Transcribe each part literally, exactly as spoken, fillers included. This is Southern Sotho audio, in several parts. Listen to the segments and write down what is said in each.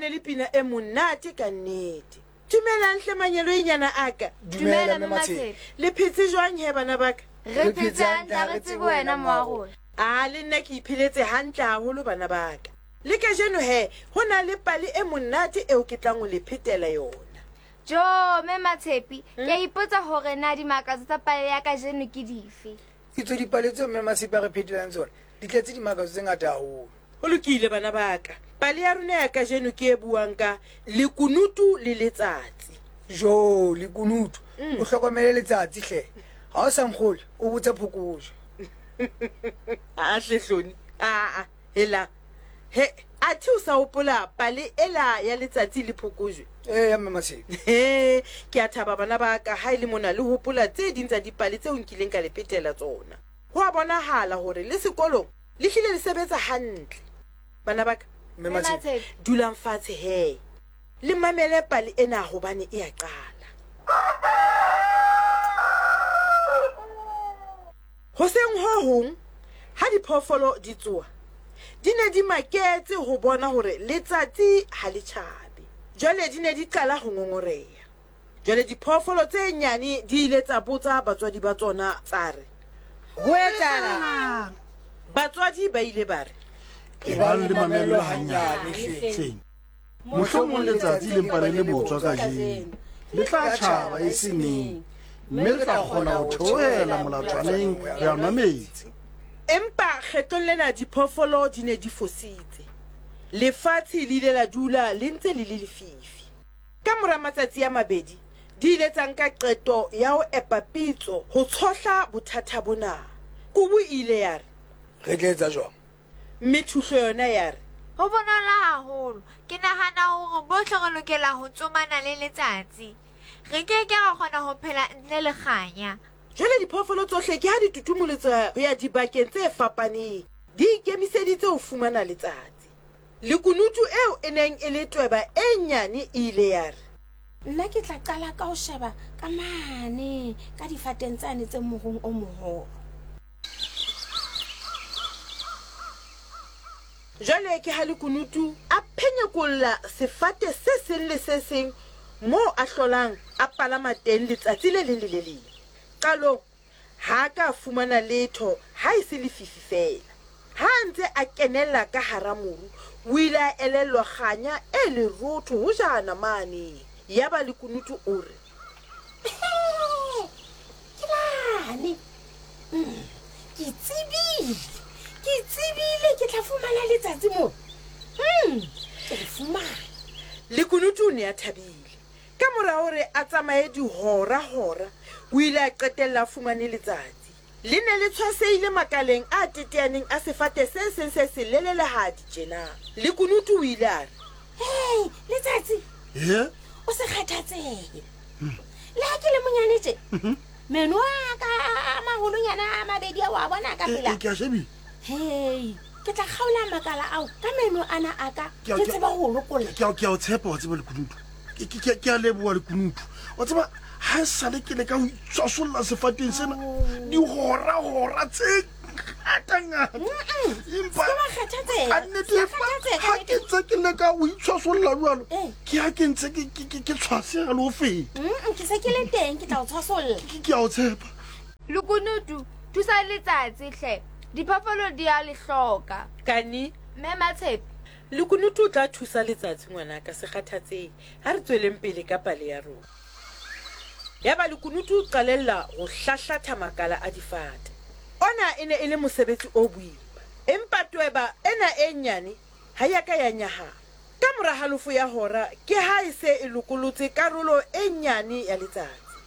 ne le pina e monate ka nnete. Dumelang hle manyeloinyana a ka. Dumela Mme Matshepe. Le phetse jwang he bana ba ka? Re phetse hantle, ha re tsebe wena mo wa rona. A le nna ke ipheletse hantle haholo bana ba ka. Le kajeno he, ho na le pale e monate eo ke tlang ho le phetela yona. Jo, Mme Matshepe, ke a ipotsa hore na dimakatso tsa pale ya kajeno ke dife. Itswe dipale tseo Mme Matshepe a re phetelang tsona di tletse dimakatso tse ngata haholo. Ho lokile bana ba ka. Pale ya rona ya kajeno ke e buang ka lekunutu le letsatsi. Jo, lekunutu. O hlokomele letsatsi hle. Ha o sa nkgolwe, o botse phokojwe. A hle Hloni. A a, hela. He, athe o sa hopola pale ela ya letsatsi le phokojwe? Eya Mme Matshepe. He, ke a thaba bana ba ka ha e le mona le hopola tse ding tsa dipale tseo nkileng ka le phetela tsona. Ho a bonahala hore le sekolong le hlile le sebetsa hantle. Bana ba ka, Mme Matshepe. dulang fatshe he. Le mamele pale ena hobane e a qala. Hoseng ho hong, ha diphoofolo di tsoha, di ne di maketse ho bona hore letsatsi ha le tjhabe. Jwale di ne di qala ho ngongoreha. Jwale diphoofolo tse nyane di ile tsa botsa batswadi ba tsona tsa re, ho etsahalang? Batswadi ba ile ba re, Ebang le mamello hanyane hleng. Mohlomong letsatsi le mpa le le botswa kajeno. Le tla tjhaba e se neng, mme re tla kgona ho theohela molatswaneng re a nwa metsi. Empa kgetlong lena diphoofolo di ne di fositse. Lefatshe le ile la dula le ntse le le lefifi. Ka mora matsatsi a mabedi, di ile tsa nka qeto ya ho epa pitso ho tshohla bothata bona. Kubu e ile ya re, Re tla etsa jwang? Mme thuhlo yona ya re, Ho bonolo haholo. Ke nahana hore bohle re lokela ho tsomana le letsatsi. Re ke ke ra kgona ho phela ntle le kganya. Jwale diphoofolo tsohle ke ha di tutumoletswa ho ya dibakeng tse fapaneng, di ikemiseditse ho fumana letsatsi. Lekunutu eo e neng e le tweba e nyane e ile ya re, Nna ke tla qala ka ho sheba ka mane ka difateng tsane tse morung o moholo. Jwale ke ha lekunutu a phenyekolla sefate se seng le se seng moo a hlolang a palama teng letsatsi le leng le le leng. Qalong ha a ka fumana letho ha e se lefifi fela. Ha a ntse a kenella ka hara moru, o ile a elellwa kganya e lerotho hojana mane. Yaba lekunutu o re, Ke lane. Mm, ke tsebile. Ke tsebile ke tla fumana letsatsi moo. Mm, ke le fumane. Lekunutu o ne a thabile. Ka mora hore a tsamaye dihora-hora, o ile a qetella a fumane letsatsi. Le ne le tshwasehile makaleng a teteaneng a sefate se seng se selelelehadi tjena. Lekunutu o ile a re, Hei, letsatsi. He? O se kgathatsehe. Le ha ke le monyane tje, meno a ka a maholonyana a mabedi ao a bona ka pela. Ke a shebile. Hei, ke tla kgaola makala ao ka meno ana a ka, Ke a- ke tseba ho lokolla. Ke a ke a o tshepa wa tseba lekunutu. Ke ke ke a leboha lekunutu. Wa tseba ha e sale ke leka ho itshwasolla sefateng sena dihora-hora tse ngata-ngata. Empa Se wa kgathatseha. ka nnete Se wa kgathatseha ka ha ke ntse ke leka ho itshwasolla jwalo, Eh. ke ha ke ntse ke ke ke tshwaseha le ho feta. Mm, ke se ke le teng, ke tla o tshwasolla. Ke ke a o tshepa. Lekunutu, thusa letsatsi hle. Diphoofolo di a le hloka. Kani, Mme Matshepe. Lekunutu o tla thusa letsatsi ngwanaka, se kgathatsehe. Ha re tsweleng pele ka pale ya rona. Yaba lekunutu o qalella ho hlahlatha makala a difate. Ona e ne e le mosebetsi o boima. Empa tweba ena e nyane ha ya ka ya nyahama. Ka mora halofo ya hora ke ha e se e lokolotse karolo e nyane ya letsatsi.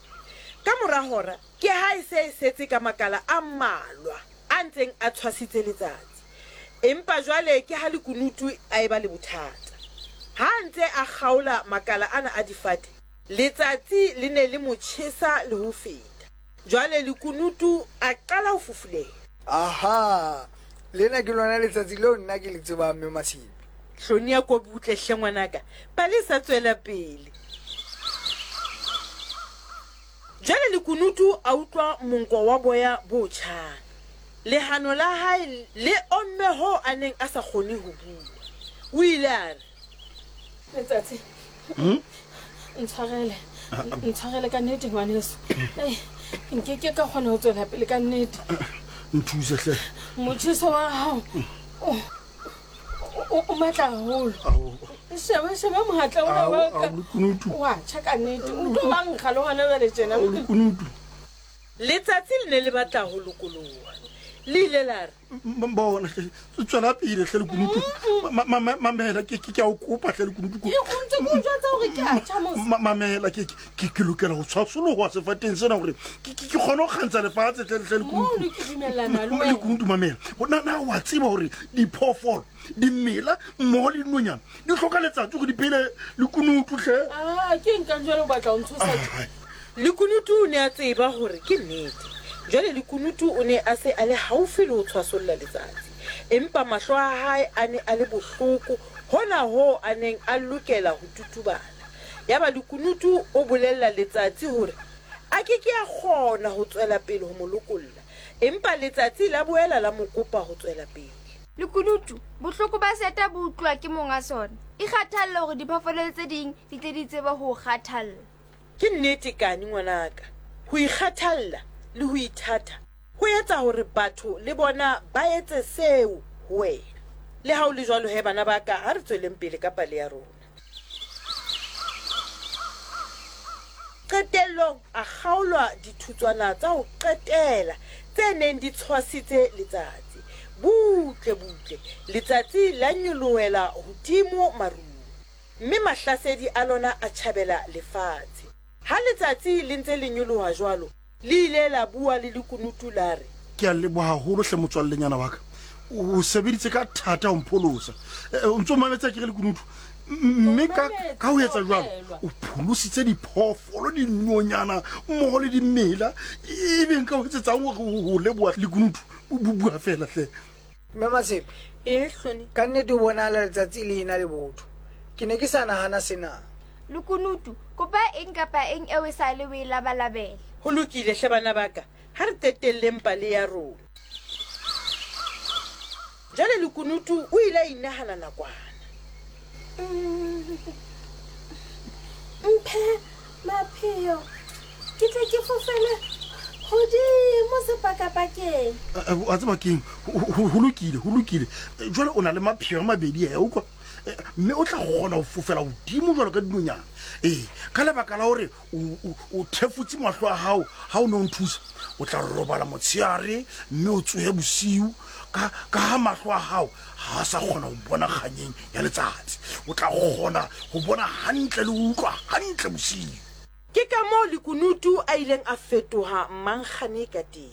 Ka mora hora ke ha e se e setse ka makala a mmalwa a ntseng a tshwasitse letsatsi. Empa jwale ke ha lekunutu a eba le bothata. Ha a ntse a kgaola makala ana a difate, letsatsi le ne le mo tjhesa le ho feta. Jwale lekunutu a qala ho fufulela. Aha, lena ke lona letsatsi leo nna ke le tsebang Mme Matshepe. Hloni ya ko butle hle ngwanaka, pale e sa tswela pele. Jwale lekunutu a utlwa monko wa boya bo tjhang. Lehano la hae le omme hoo a neng a sa kgone ho bua. O ile a re, Letsatsi. Ntshwarele. Ntshwarele ka nnete ngwaneso. Nke ke ka kgona ho tswela pele ka nnete. Nthuse hle. Motjheso wa hao o o matla haholo. Sheba sheba mohatla ona wa ka. Wa tjha ka nnete. O tlo ba nkga le hona jwale tjena. Lekunutu. Letsatsi le ne le batla ho lokoloha. Le ile la re bona tswela pele hle lekunutu. Mamela ke ke a o kopa hle lekunutu. Ke o ntse ke o jwetsa hore ke a tjha mos. Mamela ke ke ke lokela ho tshwasoloha sefateng sena hore ke ke kgone ho kgantsha lefatshe hle hle lekunutu. Mono ke dumellana le wena. Lekunutu mamela. Na na wa tseba hore diphoofolo dimela mmoho le dinonyana di hloka letsatsi hore di phele lekunutu hle. Ah, ke nka jwale o batla ho ntshosa. Lekunutu o ne a tseba hore ke nnete. Jwale lekunutu o ne a se a le haufi le ho tshwasolla letsatsi. Empa mahlo a hae a ne a le bohloko hona hoo a neng a lokela ho tutubala. Yaba lekunutu o bolella letsatsi hore a ke ke a kgona ho tswela pele ho mo lokolla. Empa letsatsi la boela la mo kopa ho tswela pele. Lekunutu, bohloko ba seta bo utlwa ke monga sona. Ikgathalle hore diphoofolo tse ding di tle di tsebe ho kgathalla. Ke nnete kane ngwanaka. Ho ikgathalla le ho ithata ho etsa hore batho le bona ba etse seo ho wena. Le ha o le jwalo he bana ba ka, ha re tsweleng pele ka pale ya rona. Qetellong a kgaolwa dithutswana tsa ho qetela tse neng di tshwasitse letsatsi. Butle butle letsatsi la nyolohela hodimo marung, mme mahlasedi a lona a tjhabela lefatshe. Ha letsatsi le ntse le nyoloha jwalo, le ile la bua le lekunutu la re, Ke a leboha haholo hle motswallenyana wa ka. O sebeditse ka thata ho mpholosa. O ntso mametse ke re lekunutu. Mme ka ka ho etsa jwalo o pholositse diphoofolo dinonyana mmoho le dimela. Ebe nka ho etsetsang hore ho leboha lekunutu? Bua fela hle. Mme Matshepe. E hlone. Ka nnete o bonahala letsatsi le ena le botho. Ke ne ke sa nahana sena. Lekunutu, kopa eng kapa eng eo e sa le o e labalabela. Ho lokile hle bana ba ka, ha re qetelleng pale ya rona. Jwale lekunutu o ile a inahana nakwana. Mphe mapheo ke tle ke fofele hodimo sepakapakeng. Wa tseba keng? Ho lokile, ho lokile. Jwale o na le mapheo a mabedi a utlwa. Mme o tla kgona ho fofela hodimo jwalo ka dinonyana. Ee, ka lebaka la hore o thefutse mahlo a hao ha o ne o nthusa, o tla robala motshehare mme o tsohe bosiu. Ka ka ha mahlo a hao ha a sa kgona ho bona kganyeng ya letsatsi, o tla kgona ho bona hantle le ho utlwa hantle bosiu. Ke ka moo lekunutu a ileng a fetoha mankgane ka teng.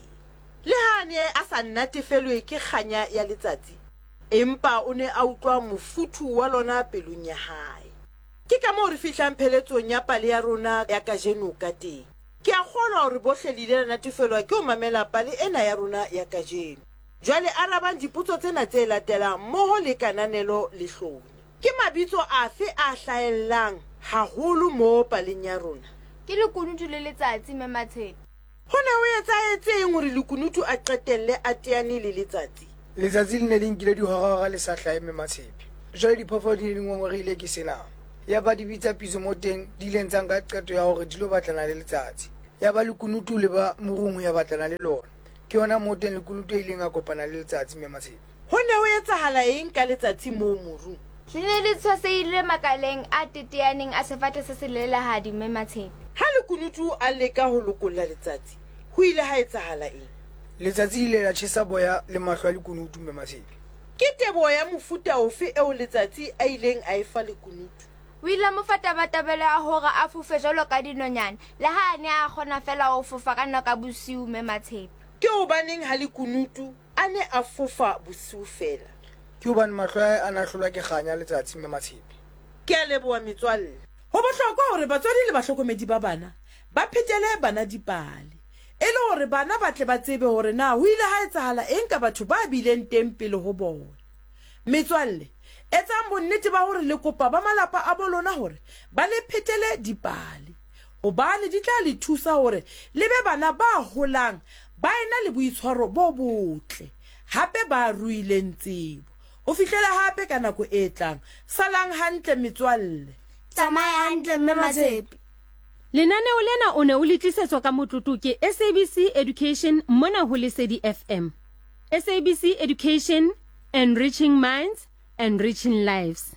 Le ha a ne a sa natefelwe ke kganya ya letsatsi, empa o ne a utlwa mofuthu wa lona pelong ya hae. Ke ka moo re fihlang pheletsong ya pale ya rona ya kajeno ka teng. Ke a kgolwa hore bohle le ile la natefelwa ke ho mamela pale ena ya rona ya kajeno. Jwale arabang dipotso tsena tse latelang mmoho le kananelo le hlone. Ke mabitso afe a hlahellang haholo mo paleng ya rona? Ke lekunutu le letsatsi Mme Matshepe. Ho ne ho etsahetseng hore lekunutu a qetelle a teane le letsatsi? Letsatsi le ne le nkile dihorahora le sa hlahe Mme Matshepe. Jwale diphoofolo di ne di ngongorehile ke sena. Ya ba di bitsa pitso mo teng di ileng tsa nka qeto ya hore di lo batlana le letsatsi. Ya ba lekunutu le ba morung ho ya batlana le lona. Ke yona mo teng lekunutu e ileng a kopana le letsatsi Mme Matshepe. Ho ne ho etsahala eng ka letsatsi moo morung? Le ne le tshwasehile makaleng a teteaneng a sefate se selelehadi Mme Matshepe. Ha lekunutu a leka ho lokolla letsatsi, ho ile ha etsahala eng? Letsatsi le ile la tjhesa boya le mahlo a lekunutu Mme Matshepe. Ke teboho ya mofuta ofe eo letsatsi a ileng a e fa lekunutu? O ile a mo fa tabatabelo ya hore a fofe jwalo ka dinonyana, le ha a ne a kgona feela ho fofa ka nako ya bosiu Mme Matshepe. Ke hobaneng ha lekunutu a ne a fofa bosiu feela? Ke hobane mahlo a hae a ne a hlolwa ke kganya letsatsi Mme Matshepe. Ke a leboha metswalle. Ho bohlokwa hore batswadi le bahlokomedi ba bana ba phetele bana dipale, e le hore bana ba tle ba tsebe hore na ho ile ha etsahala eng ka batho ba bileng teng pele ho bona. Metswalle, etsang bonnete ba hore le kopa ba malapa a bo lona hore ba le phetele dipale, hobane di tla le thusa hore le be bana ba holang ba ena le boitshwaro bo botle, hape ba ruileng tsebo. Ho fihlela hape ka nako e tlang. Salang hantle metswalle. Tsamaya hantle mme Matshepe. Lenaneo lena o ne o le tlisetswa ka motlotlo ke S A B C Education mona ho Lesedi F M. S A B C Education, enriching minds, enriching lives.